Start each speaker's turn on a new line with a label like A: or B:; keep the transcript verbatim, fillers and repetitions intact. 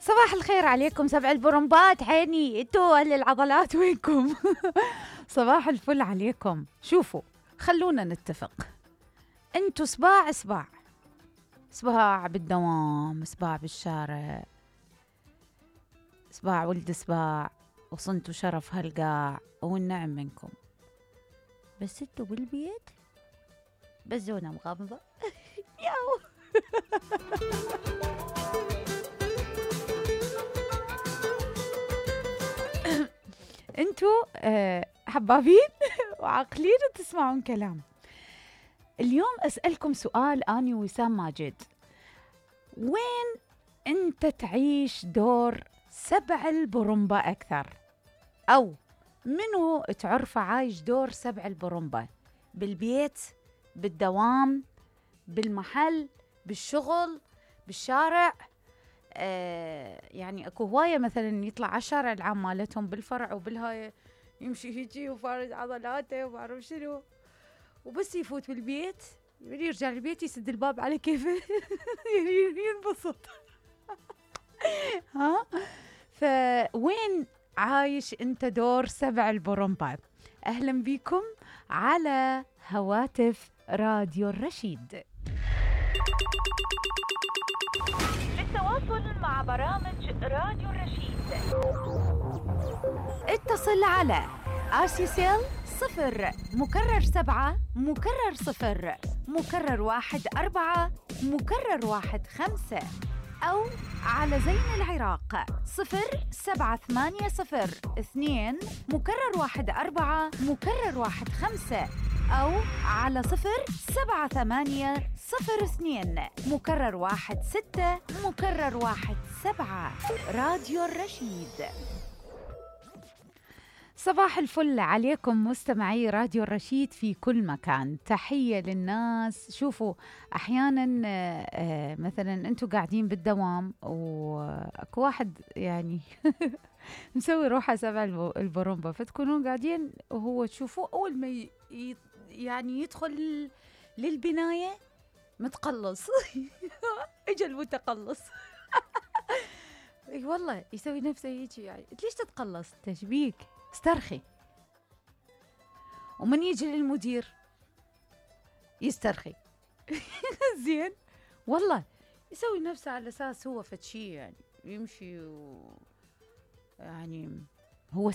A: صباح الخير عليكم سبع البرمبات. عيني انتوا اهل العضلات وينكم؟ صباح الفل عليكم. شوفوا، خلونا نتفق، انتوا صباع صباع صباع بالدوام، صباع بالشارع، صباع ولد صباع، وصنتوا شرف هالقاع والنعم منكم. بس انتوا بالبيت بزونة مغمضة. ياو. انتوا أه حبابين وعاقلين وتسمعون كلام. اليوم أسألكم سؤال أني وسام ماجد، وين أنت تعيش دور سبع البرمبة أكثر؟ أو منو تعرفه عايش دور سبع البرمبة؟ بالبيت، بالدوام، بالمحل، بالشغل، بالشارع؟ آه يعني اكو هواية مثلا يطلع على الشارع العام مالتهم بالفرع وبالهاي يمشي هيجي وفارد عضلاته وما اعرف شنو، وبس يفوت بالبيت يرجع البيت يسد الباب على كيفه. ينبسط. ها، فوين عايش انت دور سبع البرمبة؟ اهلا بكم على هواتف راديو الرشيد. للتواصل مع برامج راديو الرشيد اتصل على آسيسيل صفر مكرر سبعة مكرر صفر مكرر واحد أربعة مكرر واحد خمسة، أو على زين العراق صفر سبعة ثمانية صفر اثنين مكرر واحد أربعة مكرر واحد خمسة، أو على صفر سبعة ثمانية صفر اثنين مكرر واحد ستة مكرر واحد سبعة. راديو الرشيد. صباح الفل عليكم مستمعي راديو الرشيد في كل مكان. تحية للناس. شوفوا، أحيانا مثلا أنتوا قاعدين بالدوام وأكو واحد يعني مسوي روحه سبع البرمبة، فتكونون قاعدين وهو تشوفوه أول ما ي... يعني يدخل للبناية متقلص. اجا المتقلص. اي والله يسوي نفسه يجي، يعني ليش تتقلص؟ تشبيك استرخي. ومن يجي للمدير يسترخي. زين والله، يسوي نفسه على اساس هو فتشي، يعني يمشي و... يعني هو